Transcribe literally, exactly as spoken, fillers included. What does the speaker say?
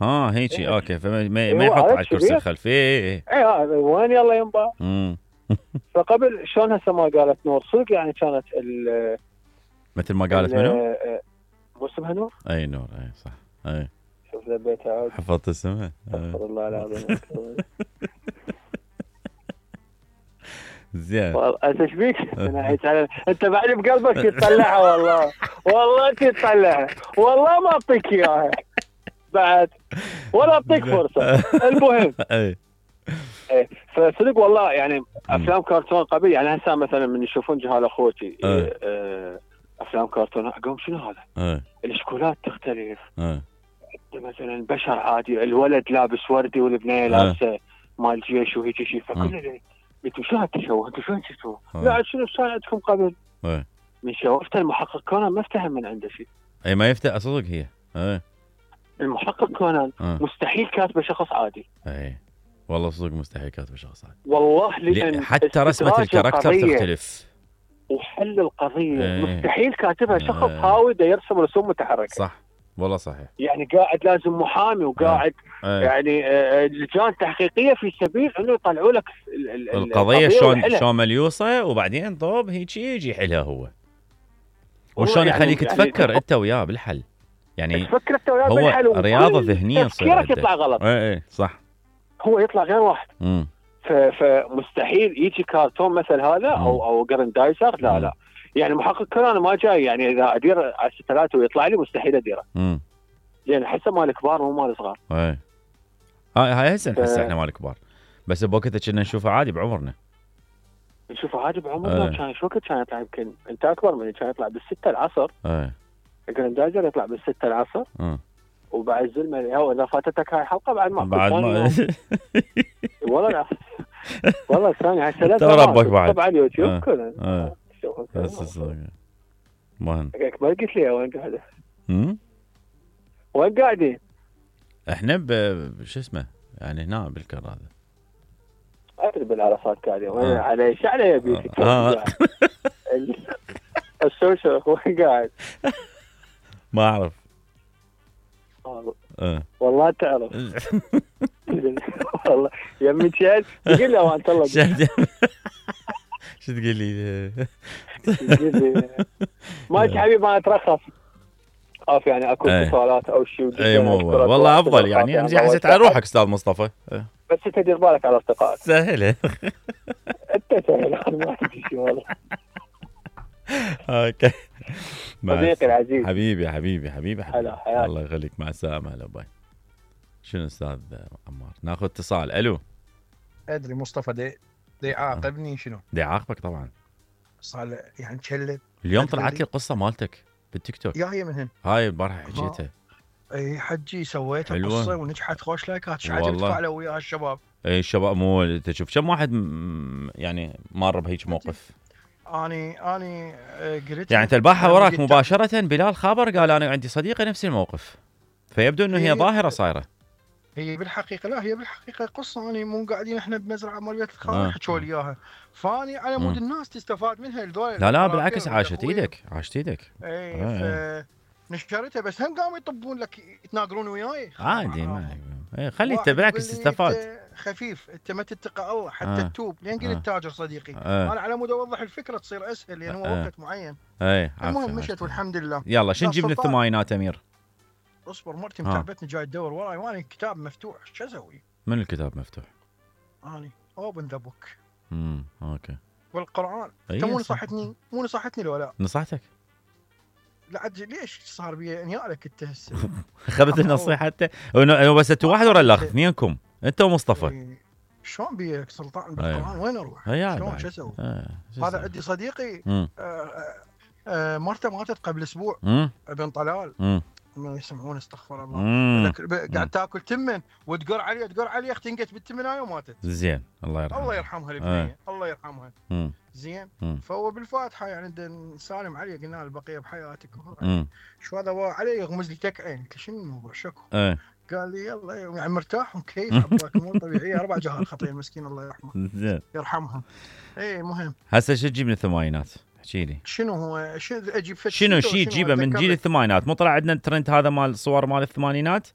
ها هيجي إيه. اوكي، فما ما إيه ما يحط عرفت على الكرسي شبيه؟ الخلفي. اي اي وين يلا ينبا. امم فقبل شلون هسه ما قالت نور صدق يعني كانت ال مثل ما قالت منو؟ مو اسمها نور؟ اي نور، اي صح. اي شوف ذبيتها عاد. حفظت اسمها. استغفر الله العظيم. زين والله انت ايش بيك؟ انت بعد بقلبك تطلعها والله، والله انت تطلعها، والله ما اعطيك اياها بعد ولا اعطيك فرصه. المهم اي ايه فصدق والله يعني افلام كرتون قبل يعني هسه مثلا من يشوفون جهال اخوتي إيه اه افلام كرتون اقوم شنو هذا؟ اي الاشكالات تختلف. اي مثلا بشر عادي، الولد لابس وردي والبنيه لابسه مال جيش وهيك شيء، فكل انتوا شو هالتشوه؟ انتوا شو شفتوا؟ لا شنو صار عندكم قبل؟ اي من شوفت المحقق كونان ما افتهم من عنده شيء. اي ما يفتح صدق هي. اي المحقق كونان أه. مستحيل كاتبه شخص عادي. اي والله صدق مستحيل كاتبه شخص عادي والله، لان حتى رسمه الكاركتر تختلف وحل القضيه ايه. مستحيل كاتبها شخص ايه. هاوي دا يرسم رسوم متحركه. صح والله صحيح. يعني قاعد لازم محامي وقاعد ايه. يعني لجان تحقيقيه في سبيل انه يطلعوا لك القضيه شلون شلون مليوصه، وبعدين طوب هيك يجي يحلها هو. وشلون يعني يخليك يعني تفكر يعني انت وياه بالحل. يعني تفكر انت وياه هو بالحل، رياضه ذهنيه تفكيرك يطلع غلط. اي اي صح. هو يطلع غير واحد. امم فمستحيل يجي كارتون مثل هذا او او جراندايزر. لا لا يعني محقق كونان ما جاي يعني اذا ادير على الستلات ويطلع لي مستحيل اديره. امم يعني حسه مال كبار مو مال صغار. اي هاي هاي هسه نحس احنا مال كبار، بس بوقتها كنا نشوفه عادي بعمرنا. نشوفه عادي بعمرنا. كان ايش وقت كان يطلع؟ يمكن انت اكبر مني، كان يطلع بالستة العصر. اي الجراندايزر يطلع بالستة العصر. اه وبعد الزلمه هو اذا فاتتك هاي الحلقه بعد ما بعد ما والله لا والله ثاني هاي ثلاث ربك بعد طبعا اليوتيوب آه. كله اه بس مهم. ما قلت لي وين قاعده؟ امم وين قاعدين؟ احنا ب شو اسمه يعني هنا بالكر هذا. ادري بالعرصات قاعدين. وين على ايش على يبيك؟ اه السوشيال وين قاعد؟ ما اعرف اه والله تعرف. والله يمي شاد تقول له وانت الله شو تقول لي؟ تقول لي ماشي حبيبي انا اترخص اخاف يعني اكو اتصالات او شيء. اي مو والله افضل يعني امزح حسيت على روحك استاذ مصطفى. بس انت دير بالك على اصدقائك. سهله انت سهله ما عندي شيء والله. اوكي صديقي العزيز حبيبي حبيبي حبيبي حبيبي هلا الله يخليك. مع السلامه. هلا باي. شنو استاذ عمار؟ ناخذ اتصال. الو. ادري مصطفى دي دي يعاقبني شنو؟ دي يعاقبك طبعا. صار يعني تشلب. اليوم طلعت لي القصه مالتك بالتيك توك. يا هي من هن هاي البارحه حكيتها. اي حجي سويت القصه ونجحت خوش لايكات. ايش عجبك فعلوا وياها الشباب؟ اي الشباب مو تشوف كم واحد يعني مر بهيك موقف. اني اني قريت يعني انت البارحه وراك مباشره بلال خابر قال انا عندي صديقه نفس الموقف، فيبدو انه هي ظاهره صايره. هي بالحقيقه لا هي بالحقيقه قصه. اني مو قاعدين احنا بمزرعه مال بيت الخال حكوا لي اياها، فاني على مود الناس تستفاد منها الدول. لا لا بالعكس عاشت ايدك عاشت ايدك. اي آه. نشرتها بس هم قاموا يطبون لك يتناقرون وياي عادي ما اي خلي انت بالعكس تستفاد. خفيف انت ما تتقى الله حتى آه. تتوب. لين قلت آه. تاجر صديقي آه. انا على مود اوضح الفكره تصير اسهل لان هو آه. وقت معين. اي المهم مشت والحمد لله. يلا شو نجيب من الثمانينات امير؟ اصبر مرتي متعبتني جاي تدور وراي وانا الكتاب مفتوح. شو اسوي؟ من الكتاب مفتوح؟ اني اوبن ذا بوك. امم اوكي. والقران انت مو نصحتني مو نصحتني لو لا؟ نصحتك؟ لا ليش صار بي انيالك انت هسه؟ اخذت النصيحه انت بس انتوا واحد ورا الاخر اثنينكم انت ومصطفى. شلون بيك سلطان بالقران وين اروح؟ شلون شو اسوي؟ هذا عندي صديقي مرته ماتت قبل اسبوع ابن طلال. مم. ما يسمعون استغفر الله. قاعد تاكل تمن وتقر عليه تقر عليه اختنقت بالتمن هاي وماتت. زين الله يرحمها. الله يرحمها البنيه. آه. الله يرحمها. مم. زين مم. فهو بالفاتحه يعني نسالم عليه قلنا له البقيه بحياتك. مم. شو هذا عليه يغمز لي تكعين. قلت شنو الموضوع شكو؟ آه. قال لي يلا يعني مرتاح وكيف عباك مو طبيعيه. اربع جهات خطيه مسكين الله يرحمه. زين يرحمها. اي مهم. هسه شو تجيب من الثمانينات؟ احكي لي شنو هو شو اجيب شنو شيء تجيبه من جيل الثمانينات؟ مو طلع عندنا الترند هذا مال الصور مال الثمانينات؟